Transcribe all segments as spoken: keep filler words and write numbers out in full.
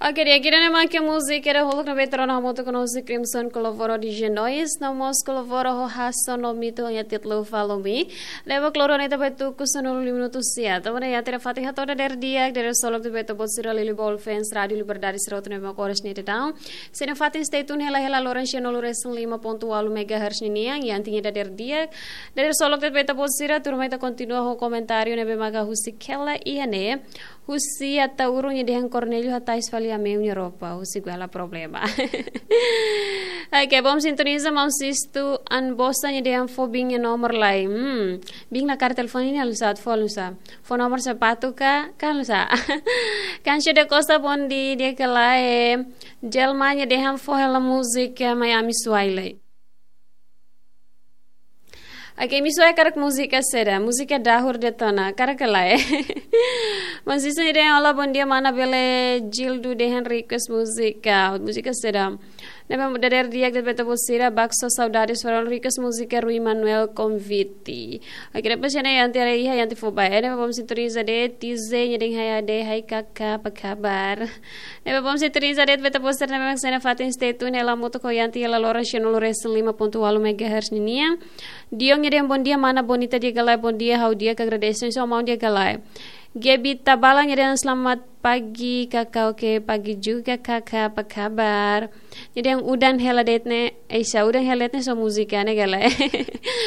Oke, di'ak, ida-ne'e mak múzika ida uluk ne'ebé ita rona hamutuk ho nosé Crimson Clovero de Genois, no mós Clovero ho Haso no Mito ho nia títulu Follow Me. Ne'ebé Clovero ne'e ita bá tuku sanulu-lima minutu sia. Tanba ne'e iha ita-nia fatin hato'o dadeer di'ak, dadeer solok atu ba ita-boot sira liuliu ba fans Rádio Liberdade sira hotu ne'ebé mak oras ne'e daudaun sei nafatin stay tune hela hela loron tianulu resin lima pontu ualu megahertz ninian, iha ita-nia dadeer di'ak. Dadeer solok atu ba ita-boot sira, tuirmai ita kontinua ho komentáriu ne'ebé maka husik hela iha ne'e. Husi Ataúro nia dehan Cornélio hatais fali ami-nia roupa, husik hela problema. Oke, bom sintoniza, maun Sisto Anbosa nia dehan fó biin nia nomor lai. Hmm, biin la kaer telefone ne'e halo sá, fó halo sá. Fó nomor sapatu ka, ka halo sá. Kancho de Costa, bom dia, di'ak ka lae. Jelma nia dehan fó hela múzika, eh, mai ami suai lai. Oke, imi suai hakarak múzika saida, múzika dahur de'it ona, hakarak ka lae. Maun Sisto nia dehan olá, bom dia mana, bele Gildo dehan request múzika, múzika saida. Ne'ebé dadeer di'ak de'it ba ita-boot sira, Bakso Saudades foram request múzika Rui Manuel Convite. Oke, depois iha ne'e iha ita-nia, iha ita-nia fó ba. Ne'ebé bom sintoniza de'it, Tize nia dehan hai ade, hai kaka, apa kabar? Ne'ebé bom sintoniza de'it ba ita-boot sira ne'ebé mak sei nafatin stay tune hela hamutuk ho ita-nia hela loron tianulu resin lima pontu ualu megahertz ninian. Dion nia dehan bom dia mana, bonita, di'ak ka lae, bom dia, ha'u di'ak, agradese, so maun di'ak ka lae. Gebi Tabala nia dehan selamat pagi kaka, oke, pagi juga kaka, apa kabar? Nia dehan udan hela de'it ne'e, Aisyah, udan hela de'it ne'e só múzika ne'e ka lae.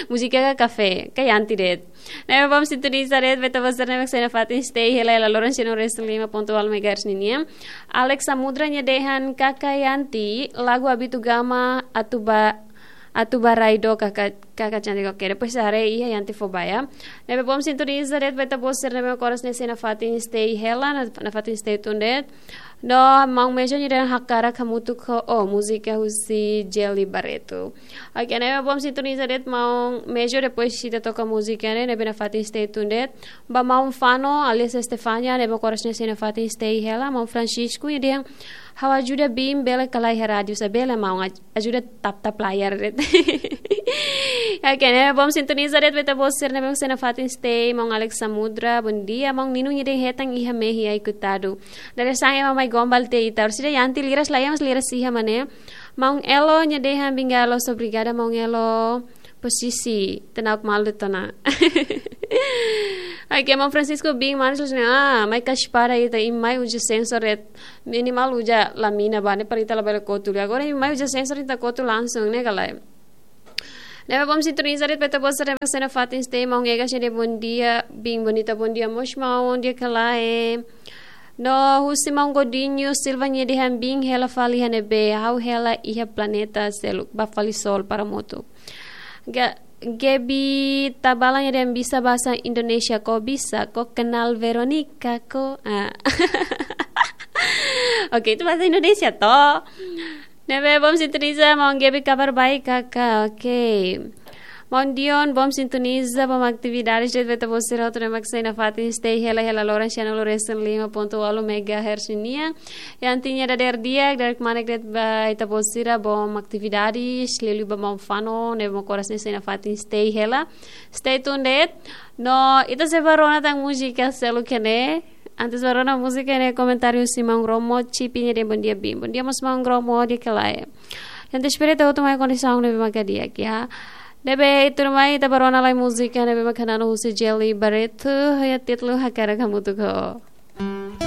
Múzika ka kafé, ka iha ita de'it. Ne'ebé bom sintoniza de'it ba ita-boot sira ne'ebé mak sei nafatin stay hela hela loron tianulu resin lima pontu ualu megahertz ninian. Alex Samudra nia dehan kaka iha ita, lagu Abito Gama, Atu Ba, Atu Ba Rai Do, kaka, kaka cantik, oke. Depois haree iha ita-nia fó ba. Ne'ebé bom sintoniza de'it ba ita-boot sira ne'ebé mak oras ne'e sei nafatin stay hela, na, nafatin stay tune de'it. No maun Mejo nia dehan hakarak hamutuk ho, oh, múzika husi Jelly Barreto. Oke, ne'ebé bom sintoniza de'it maun Mejo, depois ita toka múzika ne'e, ne'ebé nafatin stay tune de'it. Ba maun Fano, alias Estefania, ne'ebé mak oras ne'e sei nafatin stay hela, maun Francisco nia dehan ha'u ajuda biin bele ka lae iha rádiu sá, bele maun, aj-, ajuda tap-tap layar de'it. Oke, ne'ebé bom sintoniza de'it ba ita-boot sira ne'ebé mak sei nafatin stay, maun Alex Samudra, bom dia, maun Nino nia dehan hetan iha mehi ai kutadu. Dadeer-saan ema mai gombal tiha ita, orsida iha ita liras la iha, mas liras iha mak ne'e. Maun Elo nia dehan biin galo, so obrigada maun Elo. Posisi, tenau malu tona. Oke, maun Francisco biin manis, ah, mai kaspara ita, imi mai uza sensor de'it, minimal uza lamina ba ne'e para ita labele kotu. Agora imi mai uza sensor ita kotu langsung ne'e ka lae. Ne'ebé bom sintoniza de'it ba ita-boot sira ne'ebé mak sei nafatin stay, maun Egas nia dehan bom dia, biin bonita, bom dia mós maun, di'ak ka lae. No husi maun Godinho Silva nia dehan biin hela fali iha ne'ebé, ha'u hela iha planeta seluk, bá fali sol para moto. Ga-, Gebi Tabala nia dehan bisa bahasa Indonesia, kok bisa, kok kenal Veronica, kok, ah. Oke, itu bahasa Indonesia toh. Ne'ebé bom sintoniza, maun Gebi kabar baik kaka, oke. Maun Dion, bom sintoniza, bom atividades de'it ba ita-boot sira hotu ne'ebé mak sei nafatin stay hela hela loron tianulu resin lima pontu ualu megahertz ninian. Iha ita-nia dadeer di'ak, dadeer kmanek de'it ba ita-boot sira, bom atividades, liuliu ba maun Fano, ne'ebé mak oras ne'e sei nafatin stay hela. Stay tune de'it. No, ita sei bá rona tan múzika seluk ne'e. Antes bá rona múzika ne'e, komentáriu husi maun Romo, Chipi nia dehan bom dia biin. Bom dia mós maun Romo, di'ak ka lae. Ita espera ita hotu mai kondisaun ne'ebé maka di'ak, ya. Ne'ebé tuirmai ita bá rona lai múzika ne'ebé maka nano husi Jelly Barreto, ho nia títulu Hakarak Hamutuk Ho.